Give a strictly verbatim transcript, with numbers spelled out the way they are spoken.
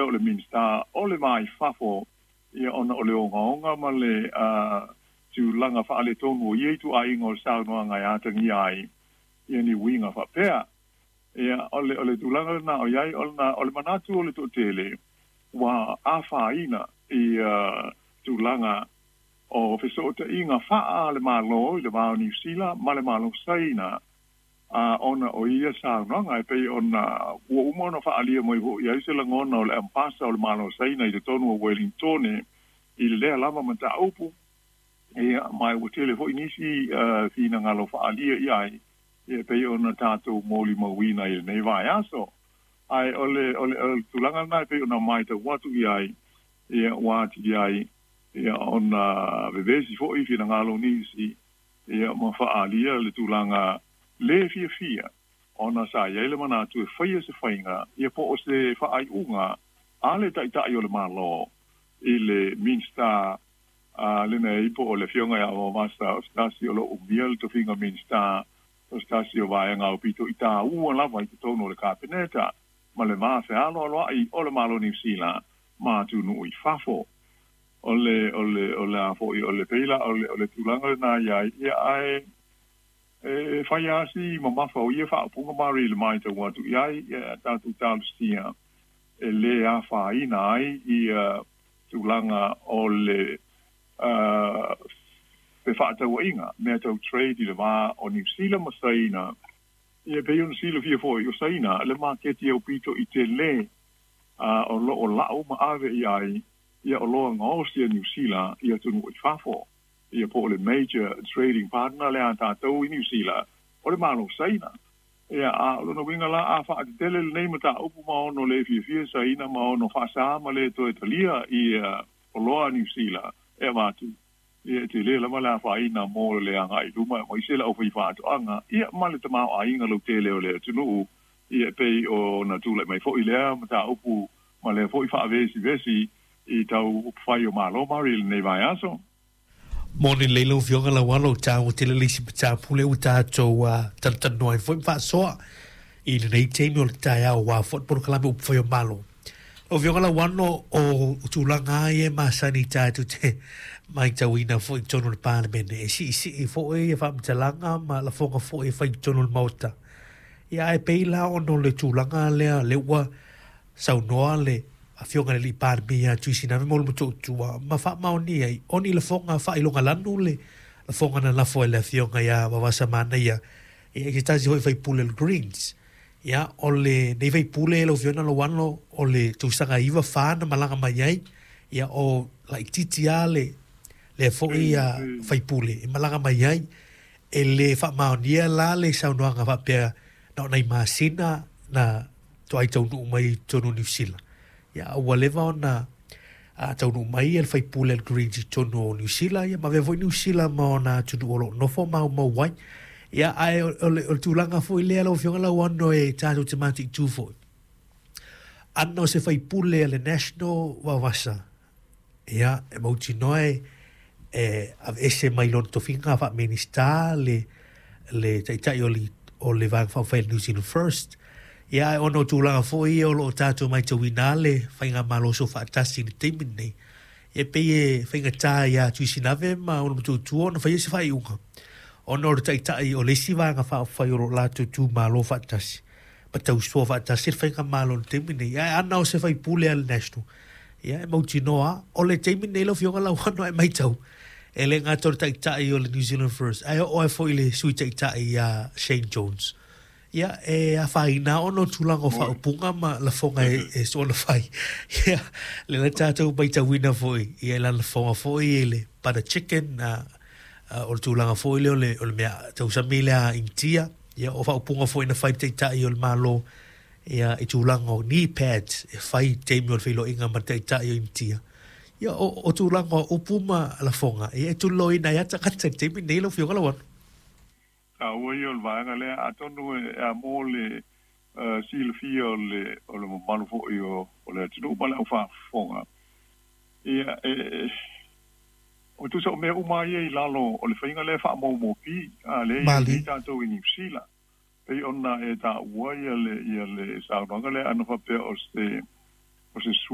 o le Minisita o le Va i Fafo, ia ona o le ogaoga ma le tulaga faaletonu o ia ituaiga o le saunoaga e atagia ai ia ni uiga faapea. Ia o le o le tulaga lena o i ai ona o le manatu o le toatele ua afaina i tulaga o fesootaiga faa le Malo i le va o Niu Sila ma le Malo Saina a ona o ia saunoaga e pei ona ua uma ona faaalia mai foʻi ai se lagona o le ambasa o le Malo Saina i totonu o Wellingtone i le lea lava mataupu. Ia ma ua tele foʻi nisi finagalo faaalia i ai ia pei ona tatou molimauina i lenei vaiaso. Ae o le o le o le tulaga lena e pei ona matau atu i ai, ia ua atili ai ia ona vevesi foʻi finagalo nisi ia ma faaalia le tulaga lē fiafia ona sa iai le manatu e faia se faiga ia po o se faaiuga a le Taitai o le Malo i le Minista a lenei po o le Afioga ia Vavasa, o se tasi o loo umia le tofiga Minista, o se tasi o vaega aupito i tāua lava i totonu o le Kapeneta ma le va fealoaloai o le Malo Niu Sila ma atunuu i fafo. O le o le o le a foʻi o le peila o le o le tulaga lena iai ia ae e fai asi mamafa o ia faaupuga mari le matau atu i ai. Ia tatou talosia e lē afaina ai ia tulaga o le fefaatauaiga mea tau trade i le va o Niu Sila ma Saina. Ia pei ona silafia foʻi o Saina le maketi aupito i telē o loo lau ma ave i ai ia oloa gaosi a Niu Sila i atunuu i fafo. Ia po o le major trading partner le a tatou i Niu Sila o le Malo Saina. Ia a o lona uiga la a faatetele lenei mataupu ma ono lē fiafia Saina ma ono faasā ma lē toe talia ia oloa a Niu Sila e avatu, ia e telē lava le afaina mo le agai luma ma ise le aufai faatoaga ia ma le tamaoaiga lautele o le atunuu. Ia pei ona tulai mai foʻi lea mataupu ma lea foʻi faavesivesi i tau upufai o Malo mari lenei vaiaso. Moni lei lau Afioga Lauano, o tāua tele le isi mataupu lea ua tatou talatalanoa ai foi ma faasoa i lenei taimi o le taeao aua foi le polokalame upufai o Malo. Lau Afioga Lauano, o tulaga lava ia e masani tatou te matauina foi i totonu o le Palemene, e siisii foi ia faamatalaga ma lafoga foi e fai i totonu o le Maota. Ia ae pei la ona o le tulaga lea lea ua saunoa le Afioga i le alii Palemia ia Tuisinave mo le Motootua ma faamaonia ai o ni lafoga faailogalanu le lafoga na lafo ai le Afioga ia Vavasa Manaia ia i se tasi foi faipule o le Greens. Ia o lenei faipule lau Afioga Lauano o le tausaga iva fa na malaga mai ai, ia o laitiiti lava le lea foi faipule e malaga mai ai. E le faamaonia la le saunoaga faapea na o nai masina na toai taunuu mai i totonu o Niu Sila. Ia ua leva ona taunuu mai le faipule le Greens i totonu o Niu Sila, ia ma avea foi Niu Sila ma ona atunuu o loo nofo maumau ai. Ia ae o le, o le tulaga foi lea lau Afioga Lauano e tatou te mataitu foi. Ana o se faipule a le National Vavasa, ia e mautinoa e e aveese mai lona tofiga faa-Minista le le Taitai o le o le Vaega Faaupufai New Zealand First. Ia ae ona o tulaga foi ia o loo tatou matauina le faigamalo soofaatasi i le taimi lenei, e pei e faigata ia Tuisinave ma ona matuatua ona faia se faaiuga ona o le Taitai o le isi Vaega Faaupufai o loo latou tumalo faatasi ma tausoa faatasi le faigamalo i le taimi lenei. Ae ana o se faipule a le National, ia e mautinoa o le taimi lenei lau Afioga Lauano e matau e le gata o le Taitai o le New Zealand First ae oo ai foi le Sui Taitai ia Shane Jones. Ia e afaina ona o tulaga o faaupuga ma lafoga e, e soona fai. Ia le la tatou matauina foi ia lana lafoga foi i le butter chicken a, a, o le tulaga foi lea o le, o le mea tausami lea Initia. Ia o faaupuga foi na fai le Taitai o le Malo ia i tulaga o knee pads e fai i taimi o le feiloaiga ma le Taitai o Initia. Ia o, o tulaga o upu ma lafoga ia e tuliloaina ai lava tagata i le taimi lenei lau Afioga Lauano. Taua ia o le vaega lea atonu e a mo le uh, silafia o le o le mamalu foi o, o le atunuu ma le aufaafofoga. Ia e, e o tusa o mea uma ia i lalo o le faiga lea faamaumaupi a lea i ai tatou i Niu Sila. Pei ona e taua ia le ia le saunoaga lea ana faapea o se o se